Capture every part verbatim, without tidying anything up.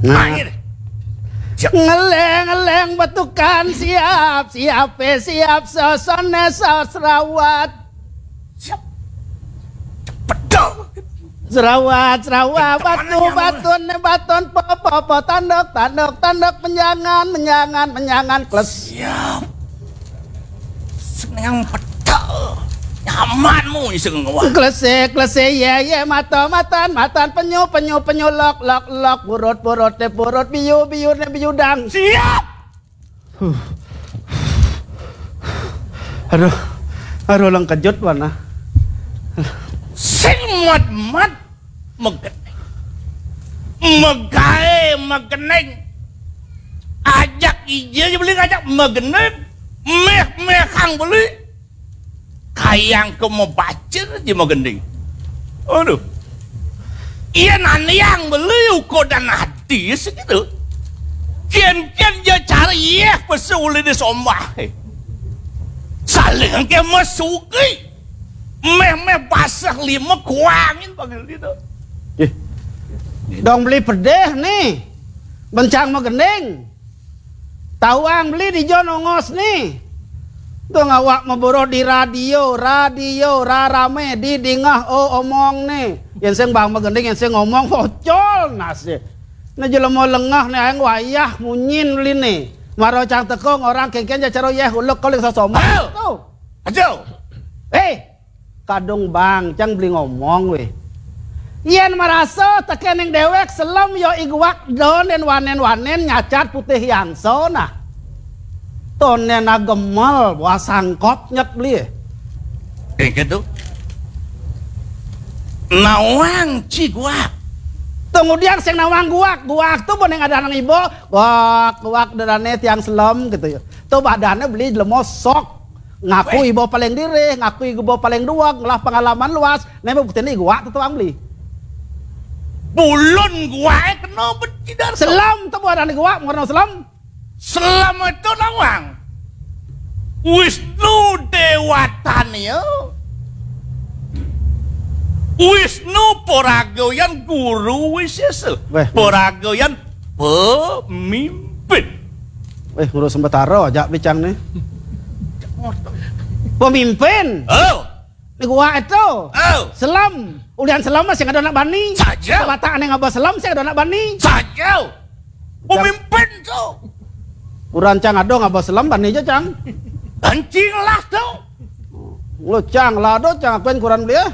Nah. Ngeleng-ngeleng betukan siap, siap, eh, siap, sosone sos rawat. Siap. Cepet dong. Serawat, serawat, batu, batun, baton, po, po, po, tanduk, tanduk, tanduk, menjangan, menjangan, menjangan, kles. Siap. Seneng pecel. Nyaman mu iseng wah. Klese, klese, ye, ye, mato, matan, matan, penyu, penyu, penyu, lok, lok, lok, purut, purut, ne purut, biu, biu, ne biu dang. Siap. Huh. Aduh, aduh, lengkejut mana. Sing mat-mat megeneng. Megae megeneng. Ajak ije aja beli ngajak megeneng. Meh-meh kang beli. Kayang ke mebacir aja megending. Aduh. Iya naniang beli uko dan hati segitu. Kian-kian dia cari iya pesu uli di sombah. Saling ke mesuki. Meh-meh basah lima kuangin panggil gitu. Ih. Dong beli pedih nih. Bencang megending. Tawang beli di jo nongos nih. Tuh ngawak meboro di radio, radio rarame di dingah o omong nih. Yang sing bang megending, yang sing ngomong pocol nasi. Nah jelema lengah nih aeng wayah munyin beli nih. Maro cang tekong orang kengken ja caro yeh ulek kolik sosoma. Ayo. Tuh. Ayo. Eh, kadung bang, cang beli ngomong weh. Yen maraso tekening dewek selem yo iguak don den wanen-wanen nyacat putih yangso nah. Tonen agemel buah sangkop nyet beli. Kayak gitu. Nawang ci guak. Tunggu diang sing nawang guak, guak tuh boneng ada nang ibo, guak, guak dadane tiang selem gitu ya. Tuh badannya beli jelema sok. Ngaku ibu paling diri, ngaku ibu paling dua, ngelah pengalaman luas, neme bukti ini gua tuh tuang beli. Bulun gua eh kena becidan. Selam tuh buat anak gua, mau selam. Selam itu nawang. Wisnu Dewatanya. Wisnu Poragoyan Guru Wisesa. Weh. Poragoyan pemimpin. Eh, ngurus sementara aja bicang nih. Pemimpin. Oh. Ni gua itu. Oh. Selam. Ulian selam masih ada anak bani. Saja. Batak aneh ngaba selam sih ada anak bani. Saja. Pemimpin tu. Uran cang ada ngaba selam bani aja cang. Anjing lah tu. Lo cang lah do cang akuin kuran beli ya.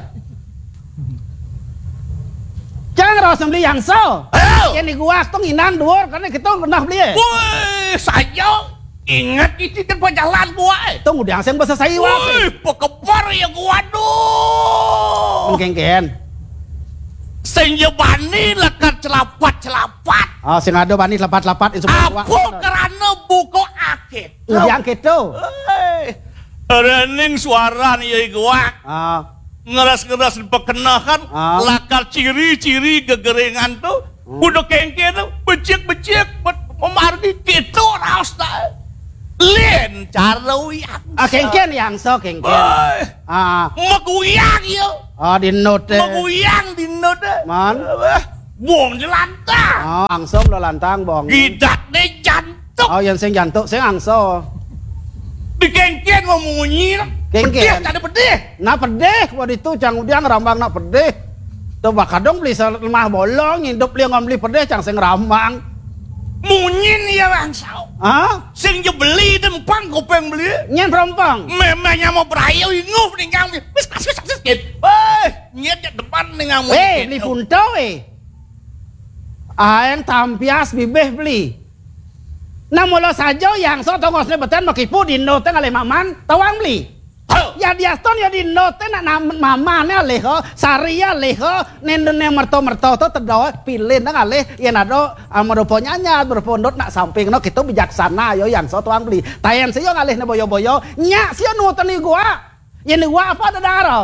Cang rawa sembeli yangso. Ayo. Yang di gua tuh nginang duor karena kita pernah beli ya. Woi, saja. Ingat itu tempat jalan gua eh. Tuh udah yang bahasa saya. Woi, pekebar ya gua aduh. Kengken. Sing ya bani lekat celapat-celapat. Oh, sing ada bani celapat-celapat itu. Apa kerana buka akit. Udah yang gitu. Hei. Rening suara ni ya gua. Ah. Ngeras-ngeras dipekenahan, ah, lakar ciri-ciri gegeringan tu, hmm, udah kengke tu, becik-becik, bet-, memargi kita raus dah. Lain cara uyang. Ah, kengken yang so kengken. Boy. Ah. Meguyang ya. Ah, di note. Meguyang di note. Man. Wah, buang jelantang. Ah, langsung lo lantang, bong. Gidat deh jantung. Oh, yang sing jantung, sing angso. Di kengken mau munyi. Kengken. Pedih, tak ada pedih. Nah, pedih, waktu itu cang udah ngerambang nak pedih. Tuh, bakadong beli selemah bolong, hidup dia ngom beli pedih, cang sing rambang. Munyin ya langsau. Hah? Sing je beli dempang kupeng beli. Nyen perompang. Memangnya mau berayu inguh nih kang. Wis, wis, wis, wis, gitu. Eh, nyet je depan nih ngamu. Eh, gitu. Beli punto, eh. Aeng tampias bibih beli. Nah, mula saja yang so tongosne beten makipu dindo te ngalih maman, tawang beli. Heh. Ya diaston ya dindo te nak nam-, mamane alih ho, sari alih ho, nendene merto-merto to tedo pilih nang alih, yen ado, ah, merupa nyanyat, merupa ndot nak samping no, kita bijaksana yo yang so tawang beli. Tayen sio ngalih ne boyo-boyo, nyak sio nuteni gua. Yen gua apa ada daro?